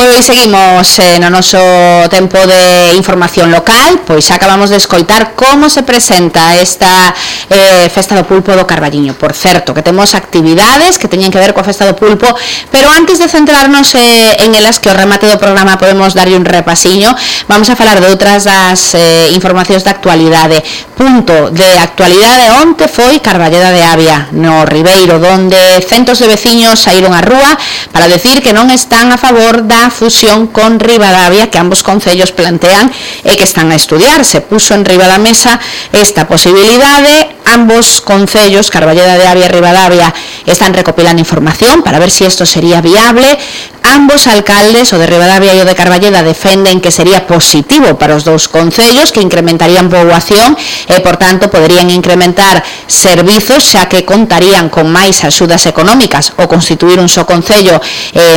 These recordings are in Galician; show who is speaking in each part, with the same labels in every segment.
Speaker 1: Pois seguimos no noso tempo de información local. Pois acabamos de escoitar como se presenta esta Festa do Pulpo do Carballiño. Por certo, que temos actividades que teñen que ver coa Festa do Pulpo, pero antes de centrarnos en elas, que ao remate do programa podemos darlle un repasiño, vamos a falar de outras das informacións de actualidade. Punto de actualidade onte foi Carballeda de Avia, no Ribeiro, donde centos de veciños saíron á rúa para decir que non están a favor da fusión con Ribadavia que ambos concellos plantean e que están a estudiar. Se puso en riba da mesa esta posibilidade. Ambos concellos, Carballeda de Avia e Ribadavia, están recopilando información para ver si esto sería viable. Ambos alcaldes, o de Ribadavia e o de Carballeda, defenden que sería positivo para os dous concellos, que incrementarían poboación e, por tanto, poderían incrementar servizos, xa que contarían con máis axudas económicas ou constituir un só concello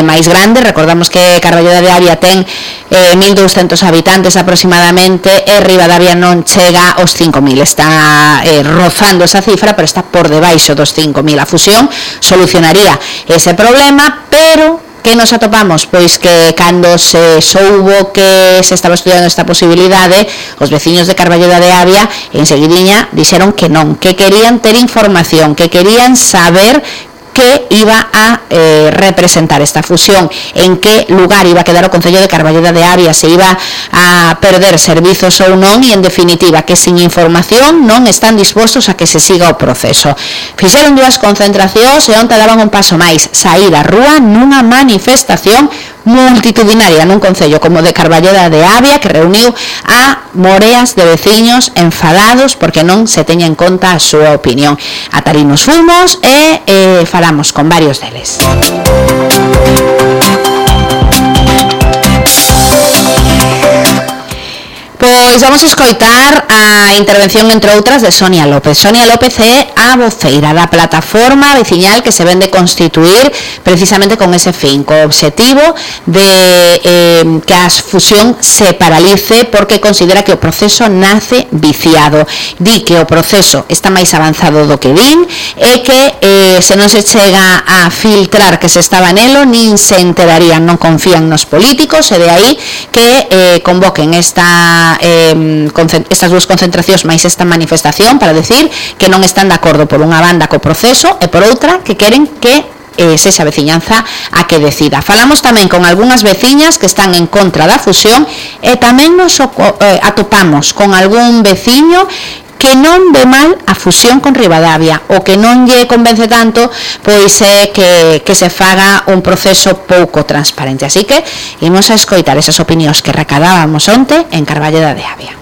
Speaker 1: máis grande. Recordamos que Carballeda de Avia ten 1.200 habitantes aproximadamente e Ribadavia non chega aos 5.000. Está rozando esa cifra, pero está por debaixo dos 5.000. A fusión solucionaría ese problema, pero que nos atopamos? Pois que cando se soubo que se estaba estudiando esta posibilidade, os veciños de Carballeda de Avia enseguidiña dixeron que non, que querían ter información, que querían saber que iba a representar esta fusión, en que lugar iba a quedar o concello de Carballeda de Avia, se iba a perder servizos ou non, e en definitiva que sin información non están dispostos a que se siga o proceso. Fixeron dúas concentracións e onte daban un paso máis, saír á rúa nunha manifestación multitudinaria nun concello como de Carballeda de Avia, que reuniu a moreas de veciños enfadados porque non se teña en conta a súa opinión. Ata ali nos fomos e falamos con varios deles. Pois vamos a escoitar a intervención, entre outras, de Sonia López. Sonia López é a voceira da plataforma veciñal que se vende constituir precisamente con ese fin, co obxectivo de que a fusión se paralice porque considera que o proceso nace viciado. Di que o proceso está máis avanzado do que din e que se non se chega a filtrar que se estaba nelo, nin se enterarían, non confían nos políticos, e de aí que convoquen estas dúas concentracións máis esta manifestación para decir que non están de acordo por unha banda co proceso e por outra que queren que sexa a veciñanza a que decida. Falamos tamén con algunhas veciñas que están en contra da fusión e tamén nos atopamos con algún veciño que non ve mal a fusión con Ribadavia, o que non lle convence tanto pois é que se faga un proceso pouco transparente. Así que imos a escoitar esas opinións que recadábamos onte en Carballeda de Avia.